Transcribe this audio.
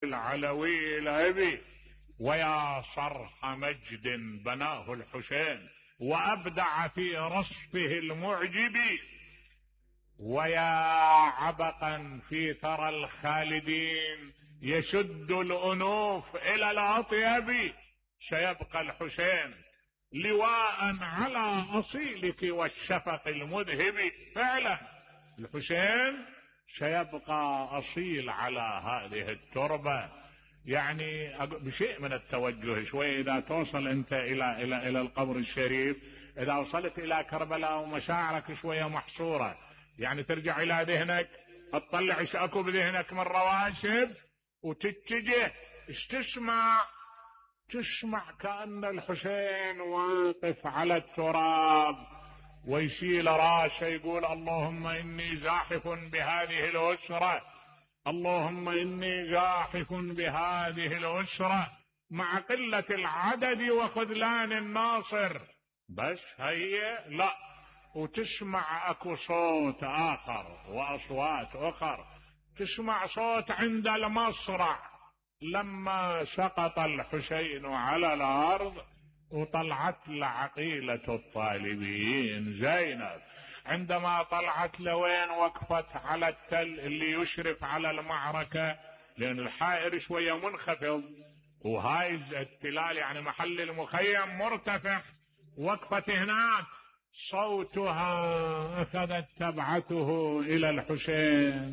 العلوي الأبي، ويا صرح مجد بناه الحسين وأبدع في رصفه المعجب، ويا عبقا في ثرى الخالدين يشد الأنوف إلى الأطيب. سيبقى الحسين لواء على أصيلك والشفق المذهب. فعلا الحسين سيبقى أصيل على هذه التربة. يعني بشيء من التوجه شوي، إذا توصل أنت إلى القبر الشريف، إذا وصلت إلى كربلاء ومشاعرك شوية محصورة، يعني ترجع إلى ذهنك، تطلع إيش أكو بذهنك من رواشب وتتجه، إيش تسمع كأن الحسين واقف على التراب ويشيل راسه يقول اللهم إني زاحف بهذه الأسرة، اللهم إني زاحف بهذه الأسرة مع قلة العدد وخذلان الناصر. بس هي لا، وتسمع اكو صوت آخر وأصوات أخر. تسمع صوت عند المصرع لما سقط الحسين على الأرض وطلعت لعقيلة الطالبين زينب، عندما طلعت لوين وقفت على التل اللي يشرف على المعركة، لأن الحائر شوية منخفض وهاي التلال يعني محل المخيم مرتفع، وقفت هناك، صوتها أخذت تبعته إلى الحسين.